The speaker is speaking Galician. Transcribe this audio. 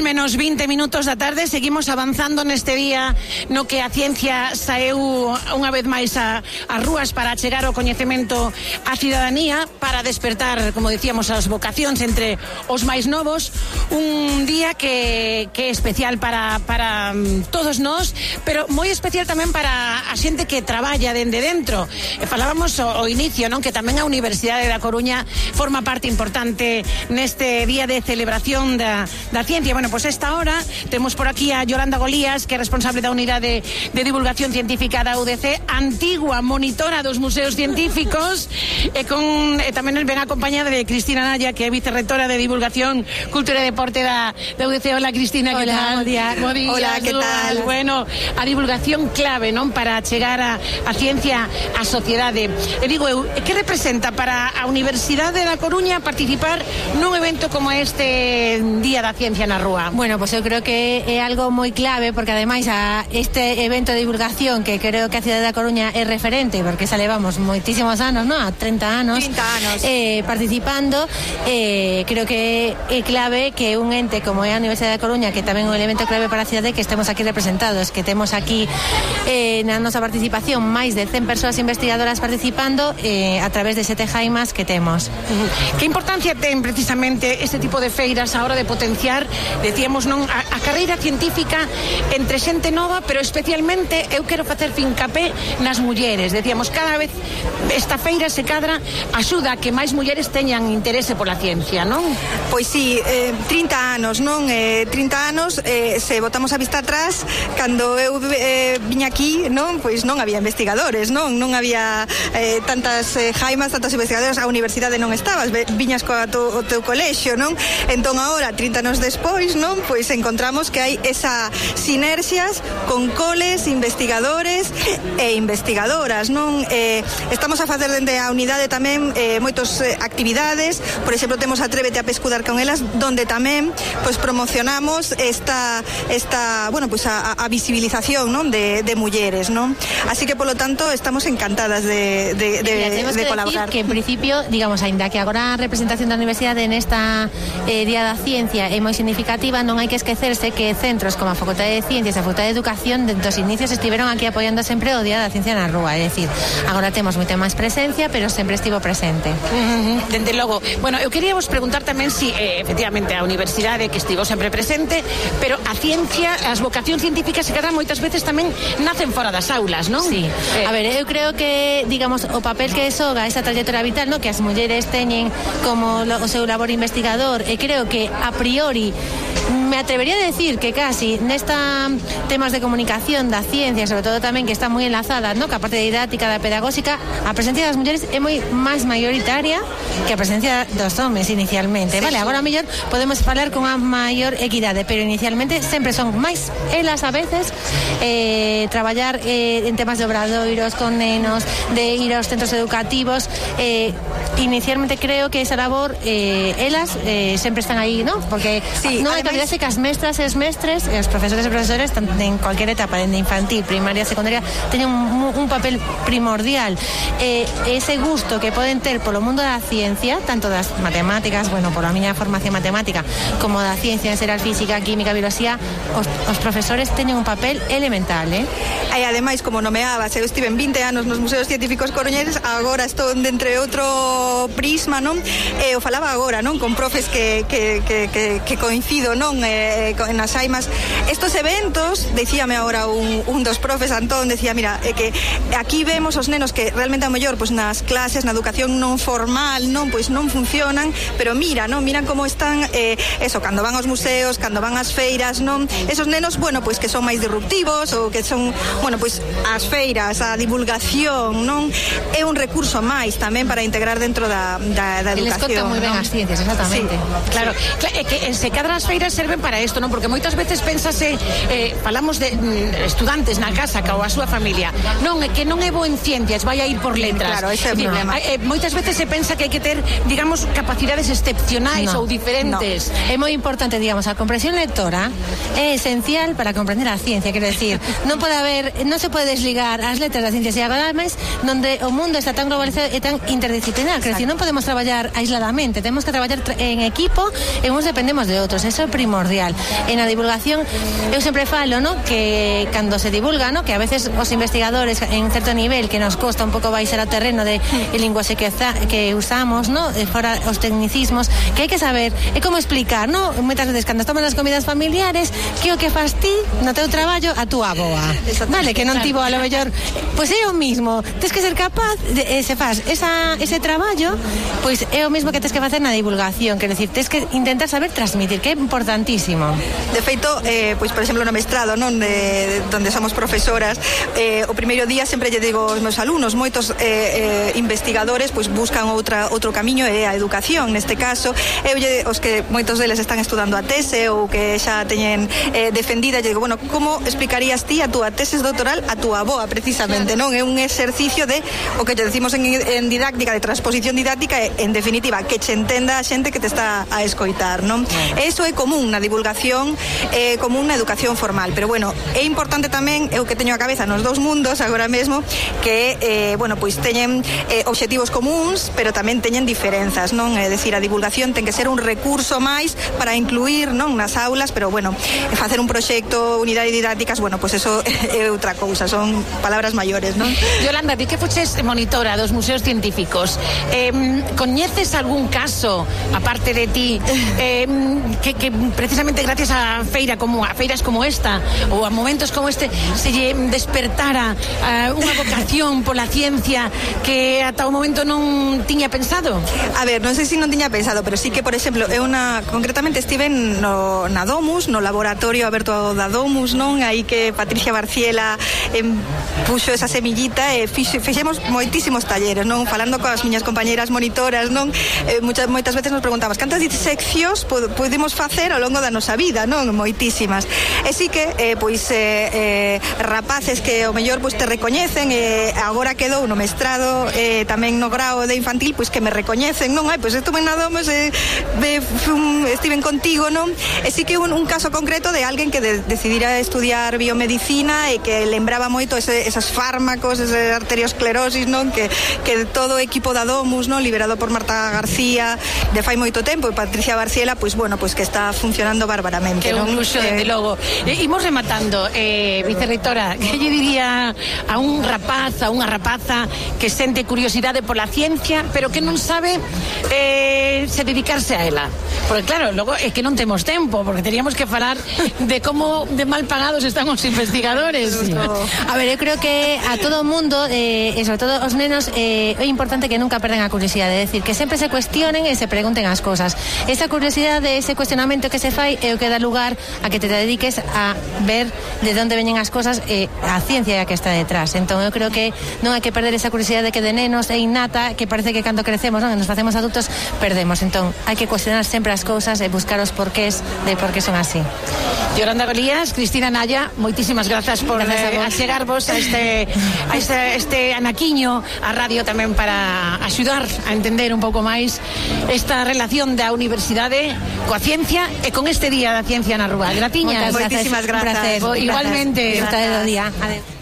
menos 20 minutos da tarde, seguimos avanzando neste día no que a ciencia saeu unha vez máis ás rúas para chegar o coñecemento á cidadanía, para despertar, como decíamos, as vocacións entre os máis novos. Un día que é especial para todos nós, pero moi especial tamén para a xente que traballa dende dentro. Falábamos ao inicio, non, que tamén a Universidade da Coruña forma parte importante neste día de celebración da ciencia. Bueno, pues esta hora temos por aquí a Yolanda Golías, que é responsable da Unidade de Divulgación Científica da UDC, antigua monitora dos museos científicos, e tamén ven acompañada de Cristina Naya, que é vicerrectora de Divulgación, Cultura e Deporte da UDC. Hola, Cristina, que tal? Hola, que tal? Bueno, a divulgación clave, non, para chegar a ciencia á sociedade. E digo eu, que representa para a Universidade da Coruña participar nun evento como este Día da Ciencia na Rúa? Bueno, pues eu creo que é algo moi clave, porque ademais a este evento de divulgación, que creo que a cidade da Coruña é referente, porque xa levamos moitísimos anos, non? A 30 anos participando, creo que é clave que un ente como é a Universidade da Coruña, que tamén é un elemento clave para a cidade, que estemos aquí representados, que temos aquí na nosa participación máis de 100 persoas investigadoras participando a través de 7 jaimas que temos. Que importancia ten precisamente este tipo de feiras a hora de potenciar, decíamos, non, a carreira científica entre xente nova, pero especialmente eu quero facer fincapé nas mulleres. Decíamos, cada vez esta feira se cadra axuda a que máis mulleres teñan interese pola ciencia, non? Pois sí, 30 anos, non? 30 anos, se botamos a vista atrás, cando eu viña aquí, non? Pois non había investigadores, non? Non había tantas jaimas, tantas investigadoras, a universidade non estabas, viñas o teu colexio, non? Entón agora, 30 anos despois, non? Pois encontramos que hai esa sinerxias con coles, investigadores e investigadoras, non? Estamos a facer dende a unidade tamén moitas actividades. Por exemplo, temos Atrévete a pescudar con elas, donde tamén pois promocionamos esta bueno, pois a visibilización, non, de mulleres, non? Así que polo tanto estamos encantadas de colaborar. Que en principio, digamos, aínda que agora a representación da universidade nesta Día da Ciencia é moi significativa, non hai que esquecerse que centros como a Facultade de Ciencias e a Facultade de Educación desde os inicios estiveron aquí apoiando sempre o Día da Ciencia na Rúa, é dicir, agora temos moita máis presencia, pero sempre estivo presente. Dende logo. Bueno, eu quería vos preguntar tamén si efectivamente a universidade que estivo sempre presente, pero a ciencia, as vocacións científicas se quedan moitas veces tamén nacen fora das aulas, non? Sí. A ver, eu creo que, digamos, o papel que xoga esa trayectoria vital, no, que as mulleres teñen como o seu labor investigador, e creo que a priori me atrevería a decir que casi nesta temas de comunicación da ciencia, sobre todo tamén que está moi enlazada, no, que a parte didáctica, da pedagóxica, a presencia das mulleres é moi máis maioritaria que a presencia dos homes inicialmente, sí, vale? Sí. Agora mellor podemos falar con a maior equidade, pero inicialmente sempre son máis elas a veces traballar en temas de obradoiros con nenos, de ir aos centros educativos. Inicialmente creo que esa labor elas sempre están aí, ¿no? Porque sí, non hai que olvidarse que as mestras e os mestres e os profesores e profesores en cualquier etapa, dende infantil, primaria, secundaria, teñen un papel primordial. Ese gusto que poden ter polo mundo da ciencia, tanto das matemáticas, bueno, pola miña formación matemática, como da ciencia en xeral, física, química, bioloxía, os profesores teñen un papel elemental, E ademais, como nomeabas, eu estive 20 anos nos museos científicos coruñeses, agora estou entre outro prisma, non? Eu falaba agora, non, con profes que coincido, non, nas aimas. Estos eventos, decíame agora un dos profes, Antón, decía, mira, que aquí vemos os nenos que realmente a mellor, pois nas clases, na educación non formal, non, pois non funcionan, pero mira, non, miran como están, eso, cando van aos museos, cando van ás feiras, non, esos nenos, bueno, pois que son máis disruptivos, ou que son, bueno, pois as feiras, a divulgación, non, é un recurso máis tamén para integrar dentro da educación. Les conta moi ben as ciencias, exactamente. Sí, claro, é que se cadran as feiras serven para isto, non? Porque moitas veces pensase, falamos de estudantes na casa ou a súa familia, non, é que non é bo en ciencias, vai a ir por letras. Claro, ese é o problema. Moitas veces se pensa que hai que ter, digamos, capacidades excepcionais ou diferentes. É moi importante, digamos, a comprensión lectora é esencial para comprender a ciencia, quero decir, non se pode desligar as letras das ciencias e agora máis donde o mundo está tan globalizado e tan interdisciplinar, quero decir, non podemos traballar aisladamente, temos que traballar en equipo e uns dependemos de outros, eso é primordial. primordial. En a divulgación, eu sempre falo, no, que cando se divulga, no, que a veces os investigadores en certo nivel que nos costa un pouco baixar ao terreno de linguaxe que usamos, no, fora os tecnicismos, que hai que saber, é como explicar, no, moitas veces cando estamos nas comidas familiares, que o que fas ti no teu traballo a túa avoa. Vale, que non tivo a lo mellor, pois é o mismo, tens que ser capaz de, se faz ese traballo, pois é o mismo que tens que facer na divulgación, quer decir, tens que intentar saber transmitir, que é importantísimo. De feito, pois por exemplo no mestrado, non, donde somos profesoras, o primeiro día sempre lle digo aos meus alumnos, moitos investigadores pois buscan outro camiño, é a educación, neste caso, os que moitos deles están estudando a tese ou que xa teñen defendida, lle digo, bueno, como explicarías ti a túa tese doctoral a túa avoa, precisamente, non? É un exercicio de o que lle decimos en didáctica, de transposición didáctica, en definitiva, que che entenda a xente que te está a escoitar, non? Eso é común na divulgación, común na educación formal, pero bueno, é importante tamén, eu que teño a cabeza nos dous mundos agora mesmo, que bueno, pois teñen obxectivos comuns, pero tamén teñen diferenzas, non? É dicir, a divulgación ten que ser un recurso máis para incluir, non, nas aulas, pero bueno, facer un proxecto, unidade didácticas, bueno, pois eso é outra cousa, son palabras maiores, non? Yolanda, di que fuches monitora dos museos científicos, coñeces algún caso, aparte de ti, que precisamente gracias a feiras como esta ou a momentos como este se lle despertara unha vocación pola ciencia que ata o momento non tiña pensado? A ver, non sei se non tiña pensado, pero sí que, por exemplo, concretamente estive na Domus, no laboratorio aberto da Domus, non? Aí que Patricia Barciela puxo esa semillita e fixemos moitísimos talleres, non? Falando coas miñas compañeras monitoras, non? Moitas veces nos preguntamos cantas diseccións podemos facer ao longo da nosa vida, non? Moitísimas. E sí que, rapaces que ao mellor te recoñecen, agora quedou no mestrado, tamén no grao de infantil, pois que me recoñecen, non? Pois estuve na Domus, estiven contigo, non? E sí que un caso concreto de alguén que decidira estudiar biomedicina e que lembraba moito esos fármacos, esa arteriosclerosis, non? Que todo o equipo da Domus, non? Liberado por Marta García de fai moito tempo, e Patricia Barciela, pois bueno, pois que está funcionando bárbaramente, que non? Un luxo, desde logo. Imos rematando, vicerreitora, que lle diría a un rapaz, a unha rapaza que sente curiosidade pola ciencia, pero que non sabe se dedicarse a ela? Porque claro, logo é que non temos tempo, porque teríamos que falar de como de mal pagados están os investigadores. Sí. A ver, eu creo que a todo o mundo, e sobre todo os nenos, é importante que nunca perdan a curiosidade, é dicir, que sempre se cuestionen e se pregunten as cosas. Esa curiosidade, ese cuestionamento que se fai é o que dá lugar a que te dediques a ver de onde veñen as cosas e a ciencia que está detrás. Entón eu creo que non hai que perder esa curiosidade que de nenos é innata, que parece que cando crecemos, non, nos facemos adultos, perdemos. Entón hai que cuestionar sempre as cousas e buscar os porqués de por qué son así. Yolanda Golías, Cristina Naya, moitísimas grazas por achegarvos a este anaquiño a radio tamén para axudar a entender un pouco máis esta relación da universidade coa ciencia e con este Día da Ciencia na Rúa. Gratiñas. Moitísimas grazas. Un placer. Igualmente. Disfrutar do día. Adeu.